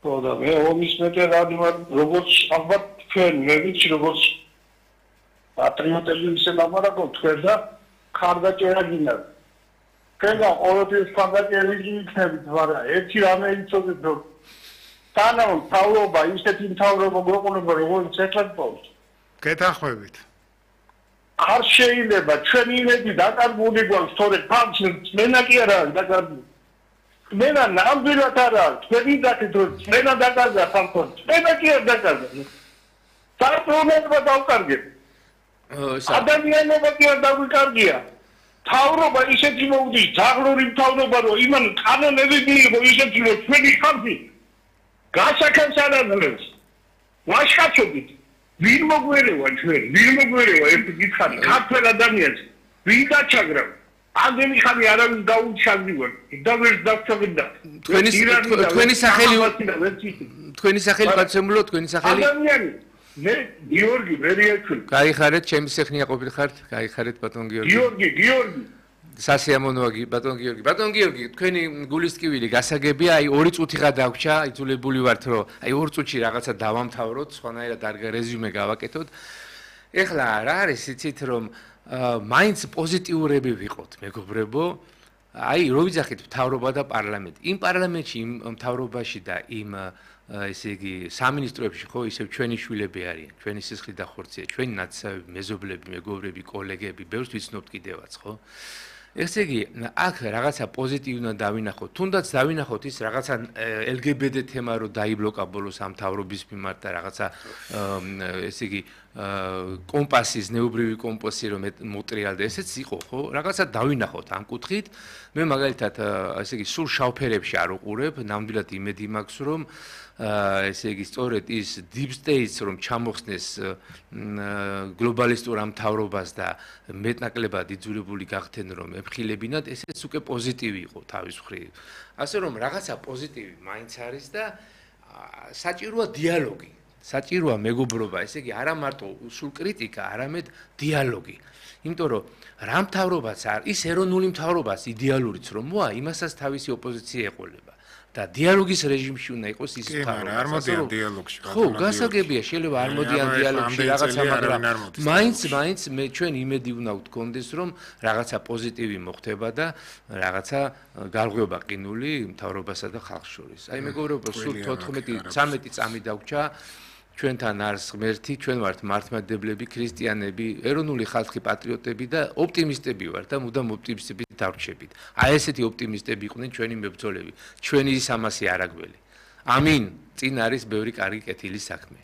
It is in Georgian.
ხო და მე ომის ვეტერანი ვარ, როგორც ალბათ თქვენ მე ვიცი როგორც პატრიოტები ისე ლაპარაკობ თქვენ და ხარდაჭერა გინდა. თქვენ ყოველთვის ხარდაჭერილი იქნებით, მაგრამ ერთი რამე იცოდეთ რომ თანამ თავრობა ისეთი თავრობა გვეყონება როგორც ეხლა პოვს. გეთანხმებით. არ შეიძლება ჩვენი იმედი დაკარგული გვაქვს თორე ფაქტს მენა კი არა დაკარგული. მენა ნამდვილად არა თქვენი დაკეთ რომ მენა დაკარგა სამყაროს. მენა კი არ დაკარგა. სარწმუნოება დავკარგეთ. ადამიანობა კი არ დაგვიკარგია. თავრობა ისეთი მოვდის, ძაღლური თავრობა რომ იმან კანონები მიიღო ისეთი რომ ჩვენი ხალხი გასაკეთებს არ აძლევს. ვაშკაცობით ვინ მოგვერევა ჩვენ, ვინ მოგვერევა ერთი გითხარი, ქართველ ადამიანს ვინ დაჩაგრა? ამდენი ხანი არავინ დაუჩაგდივარ, და ვერ დავჩაგდა. თქვენი სახელი პაცემულო, თქვენი სახელი? ადამიანი, მე გიორგი ვერიაჩული. გაიხარეთ, ჩემი სეხნია ყოფილხართ, გაიხარეთ ბატონ გიორგი. გიორგი. სასიამოვნოა ბატონ გიორგი. ბატონ გიორგი, თქვენი გულისტკივილი გასაგებია, აი 2 წუთი გადაგვრჩა, იძულებული ვართ, რომ აი 2 წუთში რაღაცა დავამთავროთ, სხვანაირად არ რეზიუმე გავაკეთოთ. ეხლა რა არის იცით რომ მაინც პოზიტიურები ვიყოთ, მეგობრებო. აი რო ვიძახით მთავრობა და პარლამენტი. იმ პარლამენტში, იმ მთავრობაში და იმ ესე იგი სამინისტროებში ხო ისევ ჩვენი შვილები არიან, ჩვენი სისხლი და ხორცია, ჩვენი ნაცავები, მეზობლები, მეგობრები, კოლეგები, ბევრს ვიცნობთ კიდევაც, ხო? ესე იგი, აქ რაღაცა პოზიტივი უნდა დავინახოთ. თუნდაც დავინახოთ ის რაღაცა LGBT თემა რო დაიბლოკა ბოლოს ამ მთავრობის მიმართ და რაღაცა ესე იგი კომპასის, ნეუბრივი კომპასი რომ მოტრიალდა, ესეც იყო, ხო? რაღაცა დავინახოთ ამ კუთხით. მე მაგალითად ესე იგი სულ შავფერებში არ უყურებ, ნამდვილად იმედი მაქვს რომ ესე იგი სწორედ ის deep states რომ ჩამოხსნეს გლობალისტურ ამ მთავრობას და მეტნაკლებად იძულებული გახდნენ რომ ემხილებინათ, ესეც უკვე პოზიტივი იყო თავის მხრივ. ასე რომ რაღაცა პოზიტივი მაინც არის და საჭიროა დიალოგი. საჭიროა მეგობრობა, ესე იგი არა მარტო სულ კრიტიკა, არამედ დიალოგი. იმიტომ რომ რა მთავრობაც არის, ის ეროვნული მთავრობას იდეალურიც რომ მოა, იმასაც თავისი ოპოზიცია ეყოლება. და დიალოგის რეჟიმში უნდა იყოს ის მთავრობა. არ მოდიან დიალოგში. ხო, გასაგებია, შეიძლება არ მოდიან დიალოგში რაღაცა, მაგრამ მაინც მე ჩვენ იმედი უნდა გქონდეს, რომ რაღაცა პოზიტივი მოხდება და რაღაცა გარღვევა ყინული მთავრობასა და ხალხს შორის. აი მეგობრებო, სულ 14-13 წამი დაგვჭა. ჩვენთან არის ღმერთი, ჩვენ ვართ მართლმადიდებლები, ქრისტიანები, ეროვნული ხალხი, პატრიოტები და ოპტიმისტები ვართ და მუდამ ოპტიმისტები დავრჩებით. აი ესეთი ოპტიმისტები იყვნენ ჩვენი მებრძოლები, ჩვენი სამასი არაგველი. ამინ, წინ არის ბევრი კარგი კეთილი საქმე.